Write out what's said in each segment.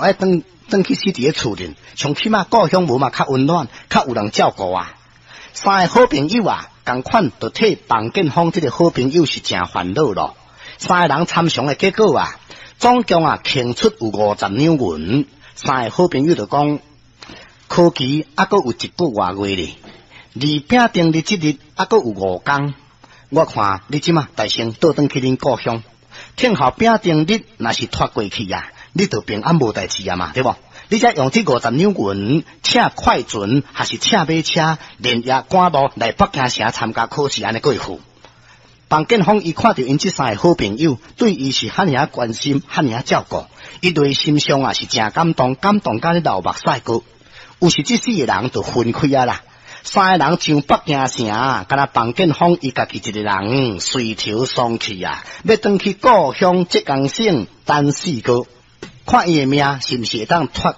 就愛轉轉去死佇咧厝裡，上起碼故鄉無嘛較溫暖，較有人照顧啊。三个好朋友啊，仝款就替房建峰這个好朋友是誠煩惱咯。三个人參詳的結果啊，總共啊稱出有50兩銀。三个好朋友就講，考期猶閣有一个外月咧，離丙丁日這日猶閣有5工。我看你這馬代先倒轉去恁故鄉，聽候丙丁日若是脫過去啊，你就平安無代誌啊嘛，對無？你才用這五十兩銀，請快船，還是請馬車，連夜趕路來北京城參加考試，按呢過付。房建峰伊看著𪜶這三个好朋友對伊是遐爾仔關心，遐爾仔照顧，伊內心上啊是誠感動，感動甲咧流目屎過。有時這四个人就分開啊啦，三个人上北京城，敢若房建峰伊家己一个人垂頭喪氣啊，欲轉去故鄉浙江省等4個月，看伊的命是毋是會當脫過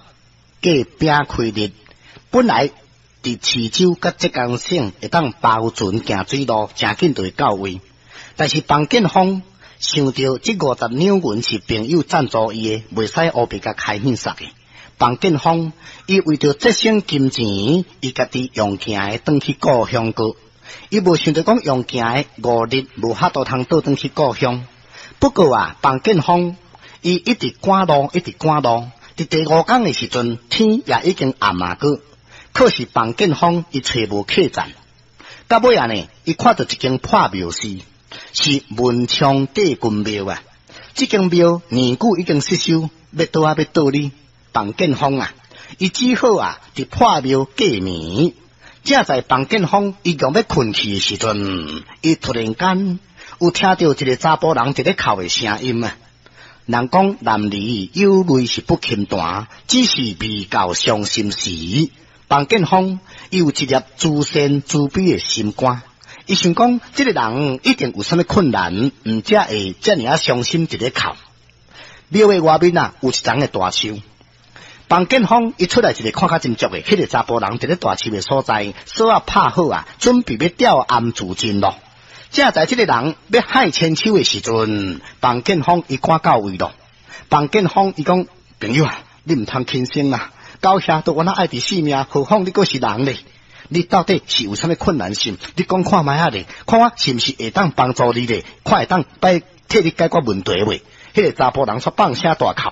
丙開日。本來佇池州佮浙江省會當包船行水路，誠緊就會到位。但是房建峰想著這50兩銀是朋友贊助伊的，袂使烏白共開獻殺的。房建峰伊為著節省金錢，伊家己用行的轉去故鄉過。伊無想著講用行的5日無法度通倒轉去故鄉。不過啊，房建峰伊一直趕路，一直趕路。佇第五工的時陣，天也已經暗啊過。可是房建峰伊揣無客棧。到尾仔呢，伊看著一間破廟寺，是文昌帝君廟啊。這間廟年久已經失修，欲倒啊欲倒哩。房建峰啊，伊只好啊，佇破廟過暝。正在房建峰伊欲欲睏去的時陣，伊突然間有聽著一个查埔人佇咧哭的聲音啊。人講男兒有淚是不輕彈，只是未到傷心時。房建峰伊有一粒慈善慈悲的心肝，伊想講這个人一定有啥物困難，毋才會遮爾仔傷心佇咧哭。廟的外面啊，有一叢的大樹。房建峰伊出來一个看較真足的，彼个查埔人佇咧大樹的所在，索仔拍好啊，準備欲吊頷自盡咯。正在這个人欲害千手的時陣，房建峰伊趕到位咯。房建峰伊講：朋友啊，你毋通輕生啊！到遐都敢若愛佇性命，何況你閣是人咧？你到底是有啥物困難性？你講看覓仔咧？看我是毋是會當幫助你咧？看會當擺替你解決問題袂？彼个查埔人煞放聲大哭。